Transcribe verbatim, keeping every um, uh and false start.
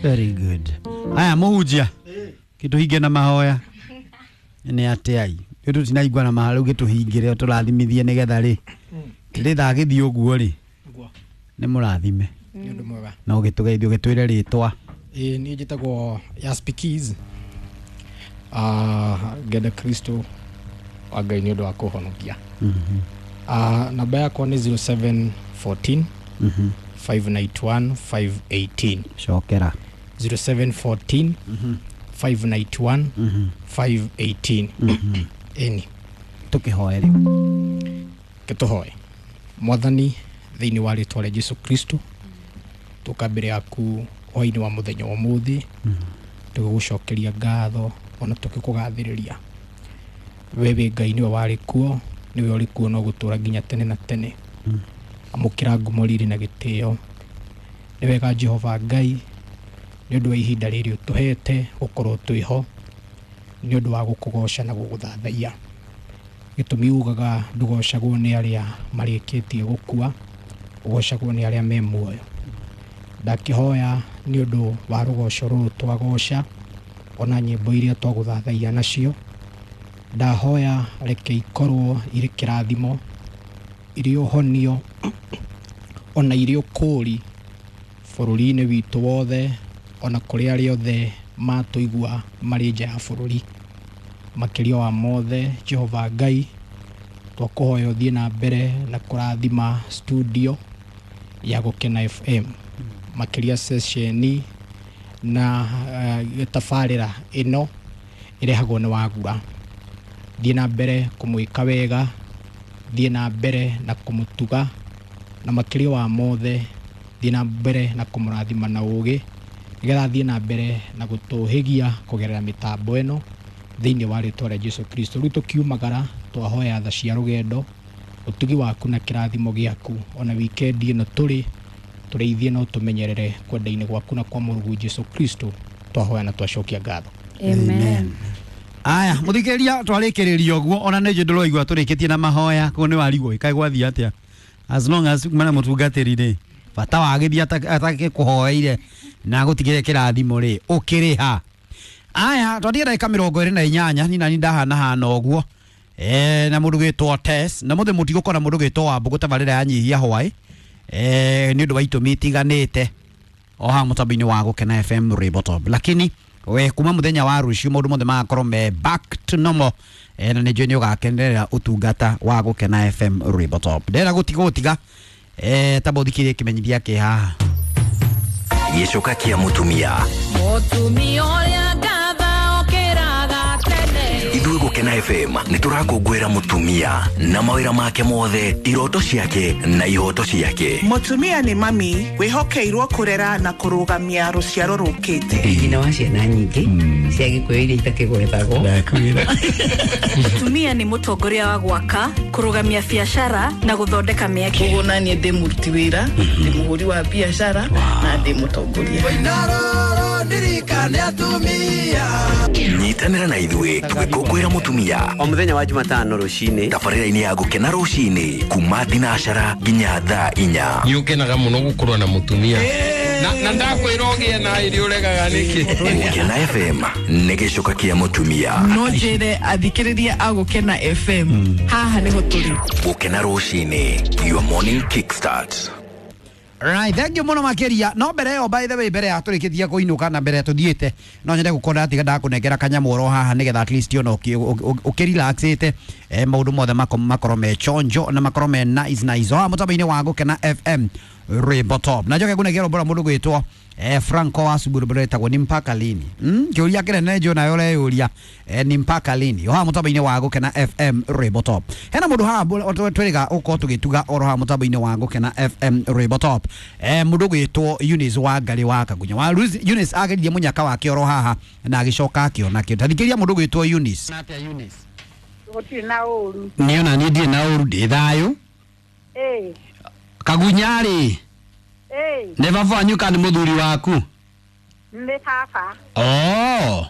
Very good. Aya muhunjia kituhinge na mahoya nĩ atĩa i tũtinaigua na mahoya rĩu gĩtũhingĩre tũrathimithie nĩgetha rĩ rĩ gĩthiĩ ũguo rĩ nĩ mũrathime nĩ ũndũ mwega na ũgĩtũgeithia ũgĩtwĩre rĩtwa. Ĩĩ niĩ njĩtagwo Yaspikis, uh, ngenda Kristo wa Ngai nĩ ũndũ wa kũhonokia. Uh, namba yakwa nĩ zero seven fourteen five nine one five eighteen. Cokera. zero seven fourteen five nine one five eighteen. Ĩni tũkĩhoe rĩu. Gĩtũhoe. Mwathani, thĩinĩ wa rĩtwa rĩa Jesu Kristo, tũka mbere yaku hwaĩ-inĩ wa mũthenya wa ũmũthĩ, tũgĩgũcokeria ngatho ona tũgĩkũgathĩrĩria. We wĩ Ngai, nĩwe warĩ kuo, nĩwe ũrĩ kuo no gũtũra nginya tene na tene. Amũkĩra ngumo, riri na gĩtĩo. Nĩ wega Jehova Ngai nĩ ũndũ wa ihinda rĩrĩ ũtũhete gũkorwo twĩho nĩ ũndũ wa gũkũgoca na gũgũthathaiya. Gĩtũmi ugaga ndũgocagwo nĩ arĩa marĩkĩtie gũkua, ũgocagwo nĩ arĩa me muoyo. Ndakĩhoya nĩ ũndũ wa rũgoco rũrũ twagoca ona nyĩmbo iria twagũthathaiya nacio, ndahoya reke ikorwo irĩ kĩrathimo, irĩ ũhonio ona irĩ ũkũũri bũrũri-inĩ witũ wothe, ona kũrĩ arĩa othe matũigua marĩ nja ya bũrũri. Makĩria wa mothe Jehova Ngai, twakũhoya ũthiĩ na mbere na kũrathima studio ya Gũkena F M, makĩria ceceni na uh, tabarĩra ĩno ĩrehagwo nĩ Wagura. Thiĩ na mbere kũmwĩka wega, thiĩ na mbere na kũmũtuga, na makĩria wa mothe thiĩ na mbere na kũmũrathima na ũũgĩ, nĩgetha thiĩ na mbere na gũtũhĩgia kũgerera mĩtambo ĩno thĩinĩ wa rĩtwa rĩa Jesu Kristo. Rĩu tũkiumagara twahoya tha cia rũgendo, ũtugi waku na kĩrathimo gĩaku, ona wikendi ĩno tũrĩ tũrĩithie na ũtũmenyerere kwenda-inĩ gwaku na kwa Mũrungu Jesu Kristo, twahoya na twacokia ngatho. Amen. Aya mũthikĩrĩria, twarĩkĩrĩria ũguo ona nĩ njũĩ ndũraigua tũrĩkĩtie na mahoya koguo nĩ warigwo ĩkaĩ gwathiĩ atĩa. As long as mana mũtungatĩri rĩ bata wa gĩthiĩ atakĩkũhoeire na gũtigĩre kĩrathimo rĩ ũkĩrĩha. Aya twathiĩ ndagĩka mĩrongo ĩrĩ na inyanya ni nani ndahana hana ũguo eh na mũndũ gwĩtwo Tess na mũthĩ mũtigũkora mũndũ gwĩtwo Wambũgũ tabarĩra ya nyihia hwaĩ eh nĩ ũndũ wa itũmi itiganĩte o haha mũtambo-inĩ wa Gũkena F M Ribotop, lakini we kuma muthenya wa rucio maundu mothe magakorwo me back to normal eh na nĩ njũĩ nĩ ũgakenerera ũtungata wa Gũkena F M Ribotop. Ndĩrenda gũtiga gũtiga eh tamba ũthikĩrĩrie kĩmenyithia kĩ haha. Gĩcoka kĩa mũtumia. Mũtumia ũrĩa ngatha okĩraga tene. Ithuĩ Gũkena F M nĩ tũrakũngũĩra mũtumia na mawĩra make mothe, iroto ciake na ihoto ciake. Mũtumia nĩ mami wĩhokeirwo kũrera na kũrũgamia rũciaro rũkĩte. Nyina wa ciana nyingĩ cia Gĩkũyũ iria itakĩgwetagwo. Mũtumia nĩ mũtongoria wa gwaka, kũrũgamia biacara na gũthondeka mĩeke. Koguo naniĩ ndĩ mũruti wĩra, ndĩ mũhũri wa biacara na ndĩ mũtongoria. Nyitanĩra na ithuĩ tũgĩkũngũĩra mũtumia o mũthenya wa Jumatano rũcinĩ tabarĩra-inĩ ya Gũkena rũcinĩ kuma thinacara nginya thaa inya. Nĩ ũkenaga mũno gũkorwo na mũtumia na na ndakwĩra ũgĩe na irio ũregaga nĩkĩ. Gũkena F M nĩ gĩcoka kĩa mũtumia. No njĩre athikĩrĩria a Gũkena F M haha nĩho tũrĩ. Gũkena rũcinĩ, your morning kickstart. Right, thank you mũno makĩria. No mbere ĩyo, by the way, mbere ya tũrĩkĩtie kũinũka na mbere tũthiĩte, no nyende gũkorwo ndatiga ndakũnengera kanyamũ oro haha nĩgetha at least ona ũkĩrelaxĩte eh maũndũ mothe makorwo me chonjo na makorwo me nice nice. O mũtambo-inĩ wa Gũkena F M Ribotop. Na njoke ngũnengera ũmbora mũndũ gwĩtwo eh Franco wa Suburu etagwo ni mpaka lini. Mm, kĩũria kĩnene njũ nayo ũreyũria eh ni mpaka lini. O haha mũtambo-inĩ wa Gũkena F M Ribotop. Hena mũndũ haha twĩrĩga ũkorwo tũgĩtuga oro haha mũtambo-inĩ wa Gũkena F M Ribotop. Eh mũndũ gwĩtwo Eunice wa Ngarĩ wa Kagunya. Wa Eunice ageririe mũnyaka wake oro haha na agĩcoka akĩona kĩo. Tathikĩria mũndũ gwĩtwo Eunice. Gũtirĩ na ũru. Niĩ ona niĩ ndirĩ na ũru, ndĩ thayũ. Ĩĩ. Kagunya rĩ. Ĩĩ. Nĩ baba wanyu kana nĩ mũthuri waku? Nĩ baba. Oh.